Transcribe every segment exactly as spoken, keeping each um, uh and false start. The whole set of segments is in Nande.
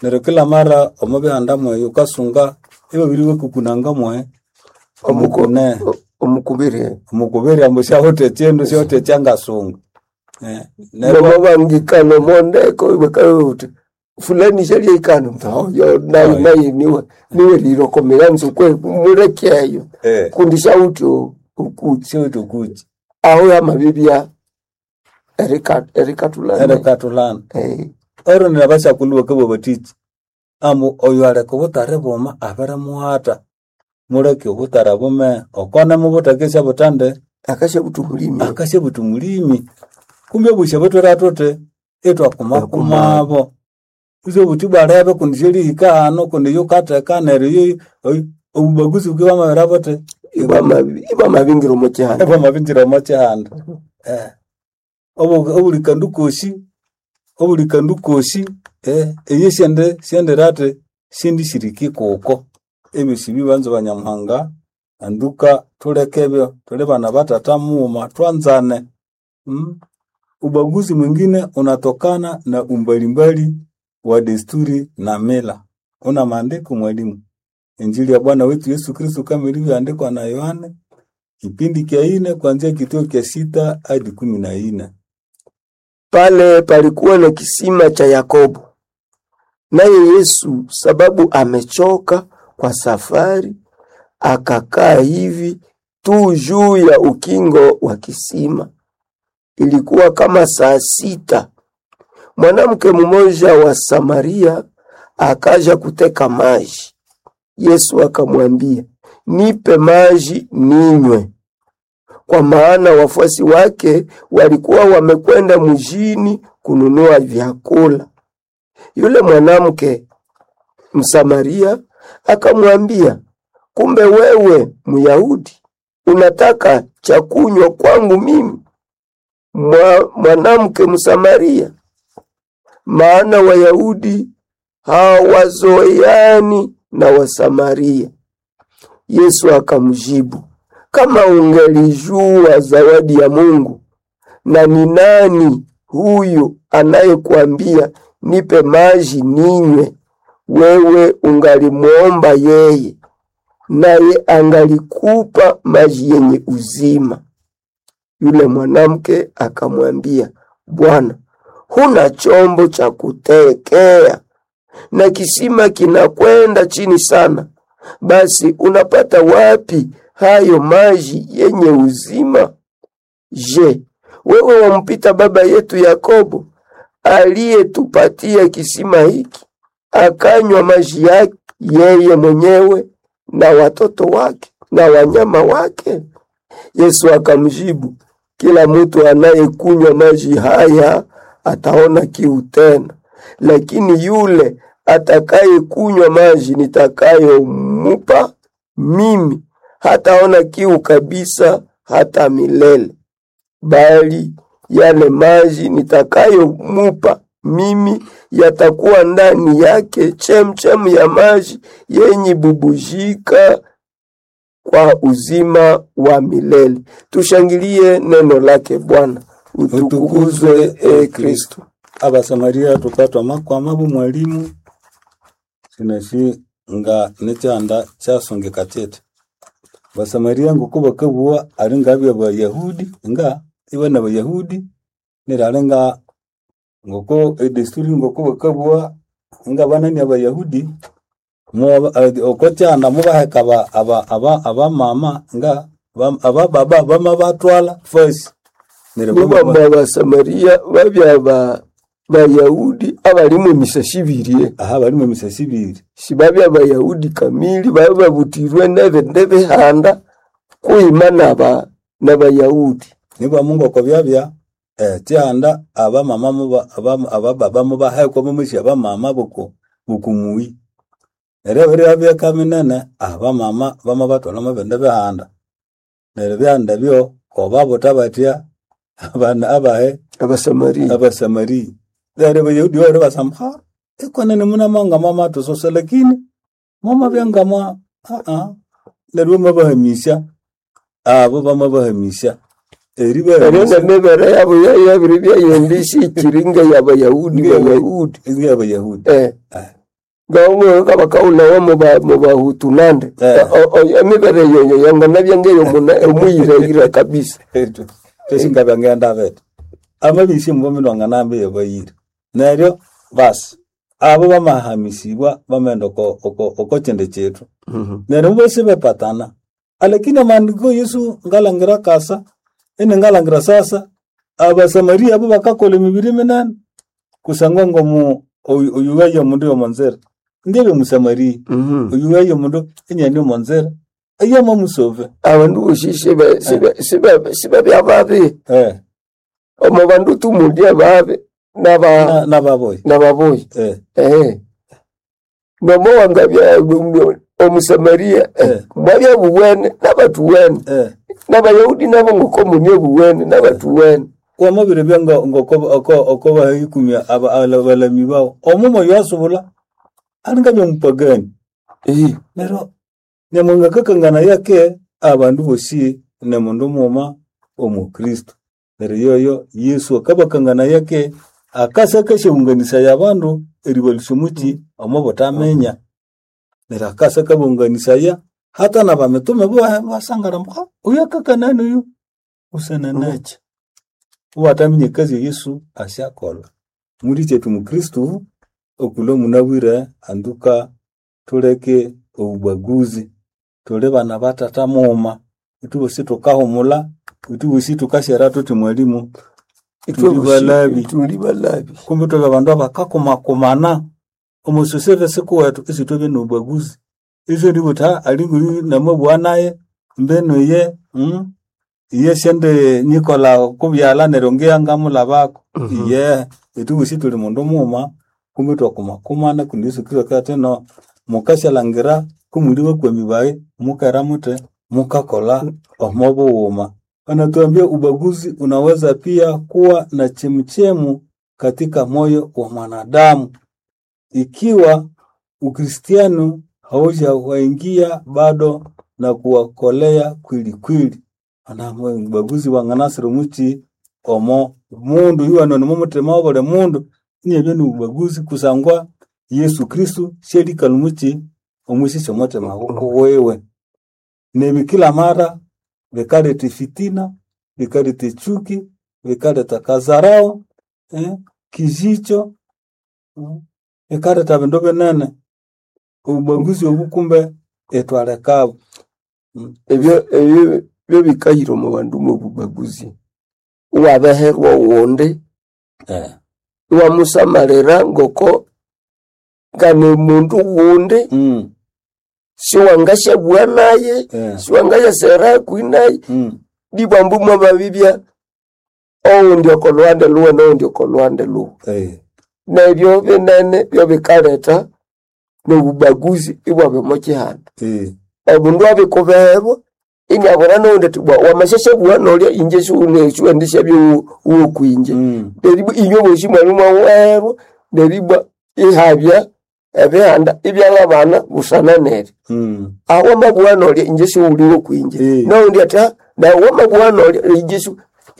Neryo kila mara omo bihanda mweyo wukasunga ibabiri bakukunanga mwe Omuku- omukune omukubiri omukubiri ambu syawithe ekyindu syawithe ekyangasunga. Eh, neryo nomabangikana omondeko bakabuthi fulani shalyeikana oyo nayi Oyo. nayi niwe niwe rirokomera nzukwe mulekeyo eh, kundi shawuthi okuki syawithe okuki aho yamabibya erika- erikatulana erikatulana. Eh, Ero nabasyakulhu bakabugha bathiki ambu oyo aleka obutare buma abirimughata muleke obutare bume okone mubuthakesya butande akashabuthi omulimi akasyabuthi mulimi kumbe obusya butwere thuthi itwakumakumabo isyobuthi bwalebe kundi syerihika hano kundi yukatheka neryo yo- oy- obubaguzi bukibya bwamabira buthi Ibwamabi- ibwamabingira omo kyihanda bwamabingira omo kyihanda. Eh, obu- obuli kandu kosi obuli kandu kosi eh, eyo syende syendira athi syendisiriki kuko ebyosi bibanza banyamuhanga anduka thuleke ebyo thuli bana batata mughuma twanzane mm? Ubaguzi mwingine unatokana na umbalimbali wa desturi na mila. Una maandiko mwalimu? Injili ya Bwana wetu Yesu Kristo kama ilivyoandikwa na Yohane kipindi kya ine kuanzia kituo kya sita hadi kumi na ine. Pale palikuwa na kisima cha Yakobo. Naye Yesu, sababu amechoka kwa safari, akakaa hivi tu juu ya ukingo wa kisima. Ilikuwa kama saa sita. Mwanamke mmoja wa Samaria akaja kuteka maji. Yesu akamwambia, nipe maji ninywe, kwa maana wafuasi wake walikuwa wamekwenda mjini kununua vyakula. Yule mwanamke Msamaria akamwambia, kumbe wewe Myahudi unataka cha kunywa kwangu mimi mwa, mwanamke Msamaria? Maana Wayahudi hawazoeani na Wasamaria. Yesu akamjibu, kama ungelijua zawadi ya Mungu na ni nani huyu anayekuambia nipe maji ninywe, wewe ungalimwomba yeye, naye angalikupa maji yenye uzima. Yule mwanamke akamwambia, Bwana, huna chombo cha kutekea na kisima kinakwenda chini sana, basi unapata wapi hayo maji yenye uzima? Je, wewe wampita baba yetu Yakobo aliyetupatia kisima hiki, akanywa maji yake yeye mwenyewe na watoto wake na wanyama wake? Yesu akamjibu, kila mtu anayekunywa maji haya ataona kiu tena, lakini yule atakayekunywa maji nitakayomupa mimi hataona kiu kabisa hata milele, bali yale maji nitakayomupa mimi yatakuwa ndani yake chemchem ya maji yenye bubujika kwa uzima wa milele. Tushangilie neno lake Bwana. Utukuzwe e Kristo. Abasamaria tukatwa makwama bu mwalimu sinasi nga nekyanda kyasongeka kyete Basamaria nguku bakabugha ali ngabya Bayahudi nga iba Bayahudi neryo ali nga ngoko edesturi ngoko bakabugha nga banani Abayahudi mu- eh, oko kyanda mubaheka aba aba aba abamama nga ba- abababa bamabatwala first neryo Nibo bamaba- Abasamaria babya ba Bayahudi abalimu emisasi ibiri aha balimu emisasi ibiri sibabya Bayahudi kamili babe babutirwe nebindi bihanda kuima naba n'Abayahudi nibwa Mungu oko byabya eh, kyanda abamama muba aba- abababa mubahekwa mumusi abamama boko bokumuyi neryo ebiro byaka minene abamama bamabatwala omu bindi bihanda neryo ebihanda ebyo kobabuta batya abana abahe Abasamaria Abasamaria neryo Abayahudi bali basamba ha ikwenene munamanga mwamathusosa lakini mwamabya ngamwa aa neryo bamabahamisya abo bamabahamisya eryo eribahamisya nemibere yabo yabiri byayembisi ikiringa y'Abayahudi Ng'eya- Bayahudi ng'eyabayahudi eh Eh. Ngaumwe kabakaulawa muba mubahutu nande. Eh. O- o- Emibere yoyo yanganabya ngeyo muna omuyirayira kabisa. Tesinga ngenda bete amabisi mubomi wanganambe yabayire neryo basi abo bamahamisibwa bamenda oko oko oko chende chetu Mhm. neryo bosi bepatana alakini amaandiko Yesu ngalangira kasa ene ngalangira sasa abasamaria abo bakakola emibiri minene kusangwa ngomu oyuwaye omundu yomonzera ndebe musamaria Mhm. oyuwaye omundu enyani omonzera eyama musove Abandu bosi sibe sibe sibe sibe byababi. eh Omo bandu tumulya babi naba na nababoyi nababoyi. eh Eh. Nomo wangabya omusamaria eh, Eh. mwabya buwene nabatuwene eh n'abayahudi nabo ngoko munie buwene n'abatuwene. wamabire bya ngo ngo oko oko bahikumya aba abalami bawo omumo yasubula alinga byomupagani Eh. Neryo nyamuhanga kakangana yake abandu bosi ne mundu muma omukristo neryo yoyo Yesu akabakangana yake akasa kashaunganisaya abandu eribalusya omuki omo butaminya neryo akasa kabunganisaya hata na bamitume bo basangara mbu uyu akakanani uyu usananachi uwataminya ekazi ya Yesu asyakolha muri kyethu mukristo okulwa munabwire anduka tuleke obubaguzi tuli bana batata muuma ithubosi tukahumula ithubosi tukasyera thuthi mwalimu tuli balabi Tuli balabi. kumbe thuli abandu abakakumakumana omusoseve sikuwethu isithwabya nobubaguzi isyo ndibutha alinga namabugha naye mbenu iye mm, iye syende nyikola kubyalha neryo ngiya ngamulhabako Mhm. iye ithubosi tuli mundu mughuma kumbe twakumakumana kundi Yesu Kristo akabugha no mukasyalangira kumuli bakwami bayi mukera muthi mukakolha omo bughuma. Anatuambia ubaguzi unaweza pia kuwa na chemchemu katika moyo wa mwanadamu ikiwa Ukristiano haujawaingia bado na kuwakolea kweli kweli. Ana ubaguzi wanganasira omuki omo mundu yuwano nimo muthima wabuli mundu inabya nobubaguzi kusangwa Yesu Kristo syalikalha omuki omwisisya omuthima wiwe. Nebi kila mara bikaletha efitina, bikaletha echuki, bikaletha kazarao, eh, kijicho, mm, bikaletha bindu binene. Obubaguzi obu kumbe ithwalekabo. Mm. Ebyo ebyo byo bikahira omu bandu mobubaguzi. Iwabeherwa owundi Eh. iwamusamalira ngoko ngane mundu wundi Mm. siwangasyabugha naye Eh. siwangasyasera hakuhi naye Mm. nibwambu mwamabibya owundi oko lhuhande lhuwe nowundi oko lhuhande lhuwe. Eh. Nebyo binene byobikaleta nobubaguzi ibwabya omo kihanda. Eh. Omundu abikubeherwa iniabona nowundi athi bwa wamasyasyabuwa nolya inje siwendishabya wokwinje. Mm. Neribwa inywe bosi mwabya mwawuherwa neribwa ihabya ebihanda ibyalhabana busana neryo. Mm. Aho wamabuwa nolya inje siwuli wokwinje. Eh. Nowundi athi "Ah, nawe wamabuwa nolya inje si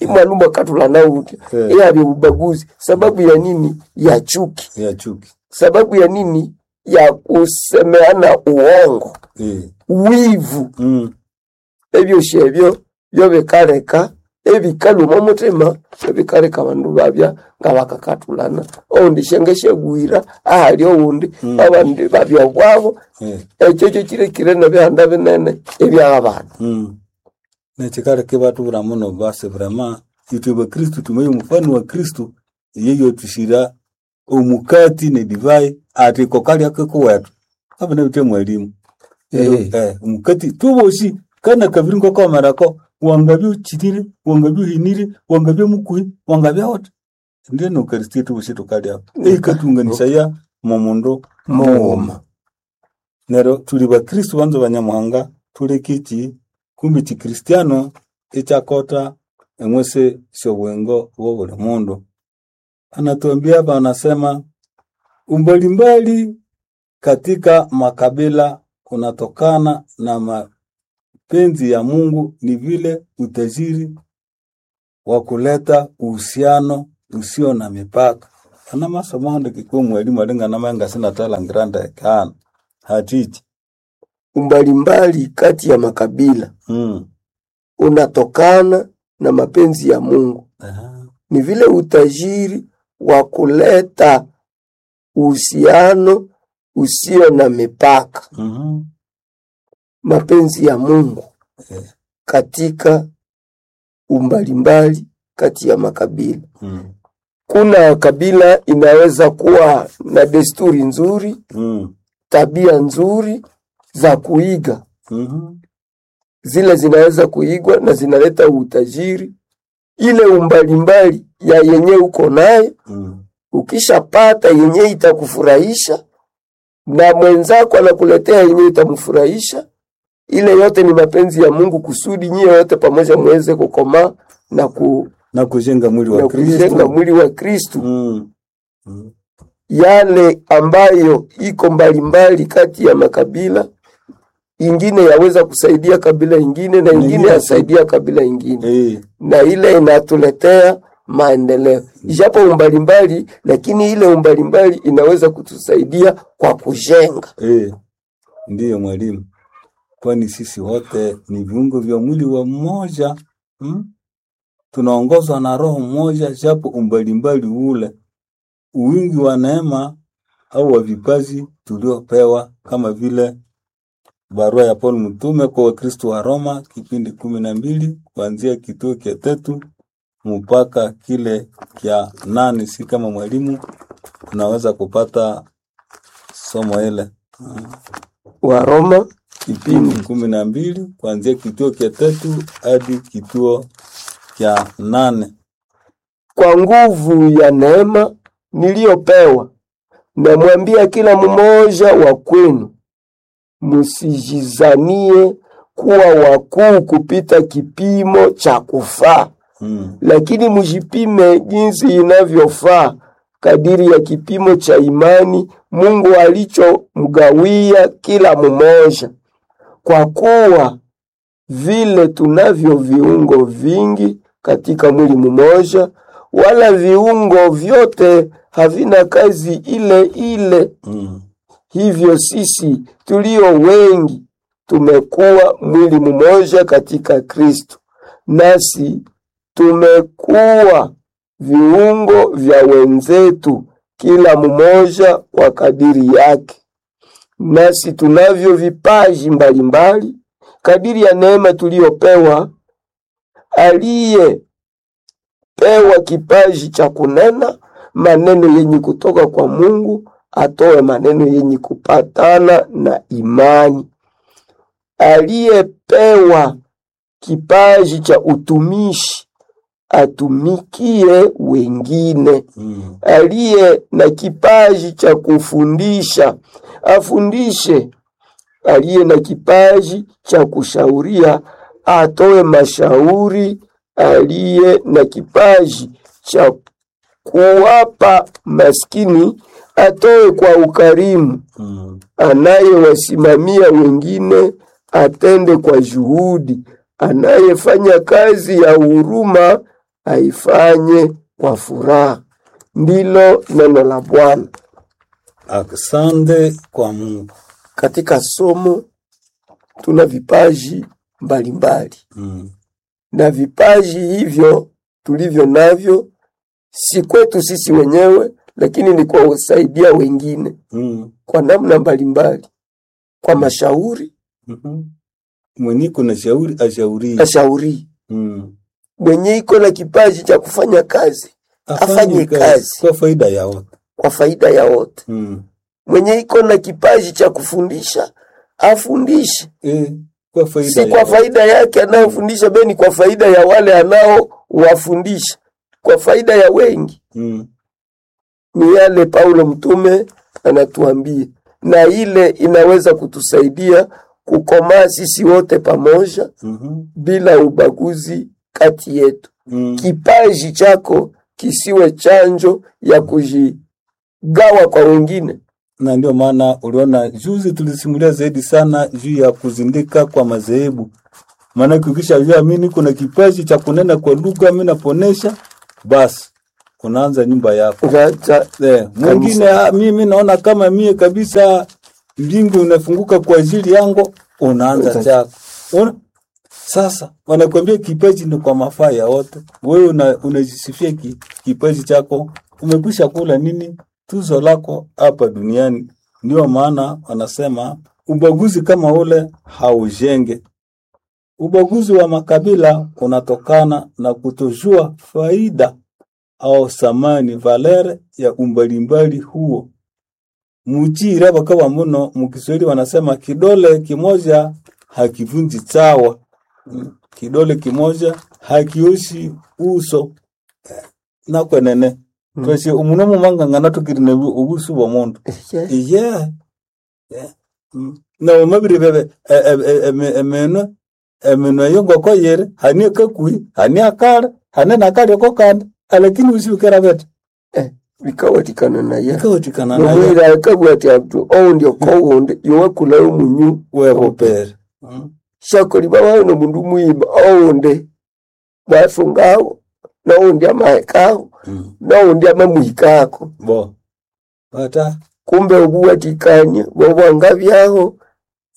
imwanu mwakathulana wutya. Eh. Ihabya obubaguzi sababu ya nini? Ya chuki. Ya chuki. Sababu ya nini? Ya kusemeana uongo, Eh. wivu. Mm. Ebyosi ebyo byobikaleka ebikalhwa omo muthima ebikaleka abandu babya ngabakakathulana owundi syangasyabuyira ahali owundi Mm. abandi babya obwabo Eh. ekyo kyo kirekire nebihanda binene ebyabana. Mm. Nekikaleka ibathubwira muno basi vrema ithwe bakristo tumaye omufano wa Kristo iye yothusira omukati nedivai athi iko kalya kikuwethu abana bithe mwalimu Eh. eh, omukati tubosi kana kabiri ngokomerako wangabya uchirire wangabya uhinire wangabya mukuhi wangabya wuthi ndiye nokaristia tubosi tukalya eikatunganisaya momundu mughuma. Neryo tuli bakristo banza banyamuhanga tuleke eki kumbe ekikristiano ikyakota engwese syobwengo bwobuli mundu. Anatuambia hapa anasema umbalimbali katika makabila unatokana na mapenzi ya Mungu ni vile utajiri wa kuleta uhusiano usio na mipaka. Anamasoma ndeke kwa mwalimu alingana manga sinatalangira ndekana hatichi Umbalimbali kati ya makabila mm. unatokana na mapenzi ya Mungu. Aha. Ni vile utajiri wa kuleta uhusiano usio na mipaka. Mhm. Mapenzi ya Mungu Eh. katika umbalimbali kati ya makabila. Mm. Kuna kabila inaweza kuwa na desturi nzuri, Mm. tabia nzuri za kuiga, Mhm. zile zinaweza kuigwa na zinaleta utajiri. Ile umbalimbali ya yenye uko nayo, Mm. ukishapata yenye itakufurahisha na mwenzako anakuletea yenye itamfurahisha, ile yote ni mapenzi ya Mungu kusudi nyie wote pamoja muweze kukomaa na, ku, Na kujenga mwili wa na kujenga Kristo. mwili wa Kristu. Mm. Mm. Yale ambayo iko mbalimbali kati ya makabila, ingine yaweza kusaidia kabila ingine na ingine Nyingine. yasaidia kabila ingine, Eh. na ile inatuletea maendeleo, ijapo umbalimbali, lakini ile umbalimbali inaweza kutusaidia kwa kujenga. Eh. Ndiyo mwalimu, kwani sisi wote ni viungo vya mwili wa mmoja mm? Tunaongozwa na roho mmoja, japo umbalimbali ule uwingi wa neema au wa vipaji tuliopewa, kama vile barua ya Paul mtume kwa Wakristo wa Roma kipindi kumi na mbili kuanzia kituo kya tatu mpaka kile kya nane. Si kama mwalimu unaweza kupata somo ile Waroma kipindi kumi na mbili kuanzia kituo kya tatu hadi kituo kya nane. Kwa nguvu ya neema niliyopewa, namwambia kila mmoja wa kwenu, msijizanie kuwa wakuu kupita kipimo cha kufaa, Mm. lakini mjipime jinsi inavyofaa kadiri ya kipimo cha imani Mungu alichomgawia kila mmoja. Kwa kuwa vile tunavyo viungo vingi katika mwili mmoja, wala viungo vyote havina kazi ile ile. Mm. Hivyo sisi tulio wengi tumekuwa mwili mmoja katika Kristo, nasi tumekuwa viungo vya wenzetu, kila mmoja kwa kadiri yake. Nasi tunavyo vipaji mbalimbali kadiri ya neema tuliyopewa. Aliyepewa kipaji cha kunena maneno yenye kutoka kwa Mungu atoe maneno yenye kupatana na imani. Aliyepewa kipaji cha utumishi atumikie wengine. Mm. Aliye na kipaji cha kufundisha afundishe. Aliye na kipaji cha kushauria atoe mashauri. Aliye na kipaji cha kuwapa maskini atoe kwa ukarimu. Mm. Anayewasimamia wengine atende kwa juhudi. Anayefanya kazi ya huruma aifanye kwa furaha. Ndilo neno la Bwana. Asante kwa Mungu. Katika somo tuna vipaji mbalimbali, Mm. na vipaji hivyo tulivyo navyo si kwetu sisi wenyewe, lakini ni kwa kusaidia wengine Mm. kwa namna mbalimbali, kwa mashauri Mhm. Mwenye kuna shauri ashauri. ashauri. Mm. Mwenye iko na kipaji cha kufanya kazi Afanye kazi. kwa faida ya wote. kwa faida ya wote. Mm. Mwenye iko na kipaji cha kufundisha afundishe, Eh, kwa faida si ya kwa wote. faida yake anayofundisha, bali kwa faida ya wale anaowafundisha, kwa faida ya wengi. Mm. Ni yale Paulo mtume anatuambia, na ile inaweza kutusaidia kukomaa sisi wote pamoja Mhm. bila ubaguzi kati yetu. Mm. Kipaji chako kisiwe chanjo ya kujigawa kwa wengine. Na ndio maana uliona juzi tulisimulia zaidi sana juu ya kuzindika kwa madhehebu. Maanake ukishajua mimi niko na kipaji cha kunena kwa lugha, mimi naponesha, basi unaanza nyumba yako. Unaacha Eh, mwingine ah, mimi naona kama mie kabisa mbingu inafunguka kwa ajili yangu, unaanza Uta- chako. Una, sasa wanakuambia kipaji ni kwa mafaa ya wote. Wewe una, unajisifia ki, kipaji chako, umekwisha kula nini tuzo lako hapa duniani. Ndio maana wanasema ubaguzi kama ule haujenge. Ubaguzi wa makabila unatokana na kutojua faida au samani valere ya umbalimbali huo. Muchira bakawa muno mukiswahili wanasema kidole kimoja hakivunji chawa. Mm, Kidole kimoja hakioshi uso nakwenene Mm. tweshe omuno mumangangana tukirine obusu bwa mundu Yeah. iye yeah. Mm. Na omabiri bebe eminwe eminwe yongoko yiri hani akakui hani akali hani nakalyoko kandi alakini usibikera bete Eh, bikawatikana naye ikawatikana nayo nomwira akabwira ati atu oundi okowundi yowakulayo munyu webupere Mm. shakoli bawayo nomundu muyima oundi bwasungawo noundi amahekawo Mm. noundi amamuhikako bo bata kumbe obuwatikania bwobwanga byaho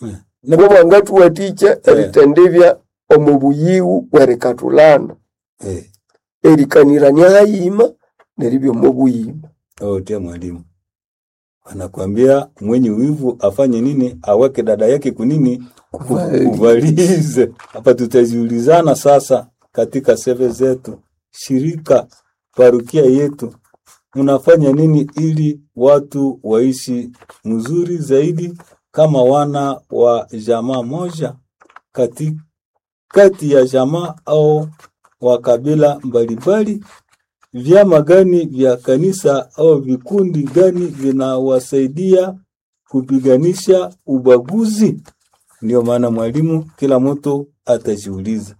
Mm. Ne- bwobwangatuwatikya Eh. eritendebya omu buyiwu bwerikatulana eh, erikanirania hayima neribya omu buyima otia mwalimu anakwambia mwenye wivu afanye nini aweke dada yake kunini Kuvali. kuvalize hapa tutajiulizana sasa katika seve zetu shirika parukia yetu mnafanya nini ili watu waishi mzuri zaidi kama wana wa jamaa moja kati, kati ya jamaa au wa kabila mbalimbali vyama gani vya kanisa au vikundi gani vinawasaidia kupiganisha ubaguzi? Ndio maana mwalimu, kila mtu atajiuliza,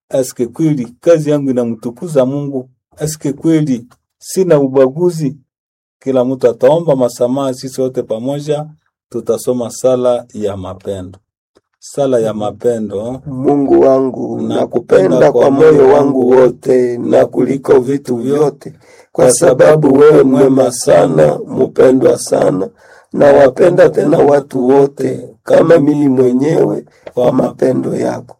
aske kweli kazi yangu inamtukuza Mungu? Aske kweli sina ubaguzi? Kila mtu ataomba masamaha. Sisi wote pamoja tutasoma sala ya mapendo, sala ya mapendo. Mungu wangu, nakupenda kwa moyo wangu wote na kuliko vitu vyote, kwa sababu wewe mwema sana, mupendwa sana, na wapenda tena watu wote kama mimi mwenyewe kwa mapendo yako,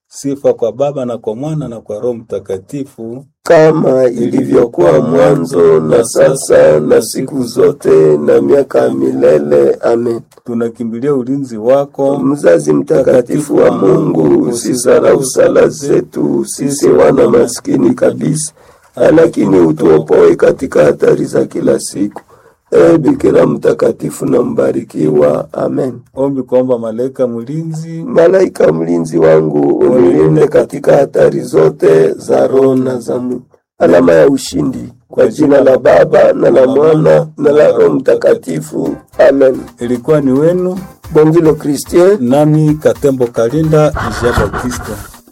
Sifa kwa Baba na kwa Mwana na kwa Roho Mtakatifu, kama ilivyokuwa mwanzo na sasa na siku zote na miaka ya milele. Amen. Tunakimbilia ulinzi wako Mzazi mtakatifu wa Mungu, usizarau sala zetu sisi wana maskini kabisa, lakini utuopoe katika hatari za kila siku. Ee Bikira mtakatifu na mbarikiwa. Amen. Ombi kuomba malaika mlinzi. Malaika mlinzi wangu, unilinde katika hatari zote za roho na za mwili. Alama ya ushindi kwa jina la Baba na la Mwana na la Roho Mtakatifu. Amen. Ilikuwa ni wenu Bongilo Christian nami Katembo Kalinda Jean Baptiste.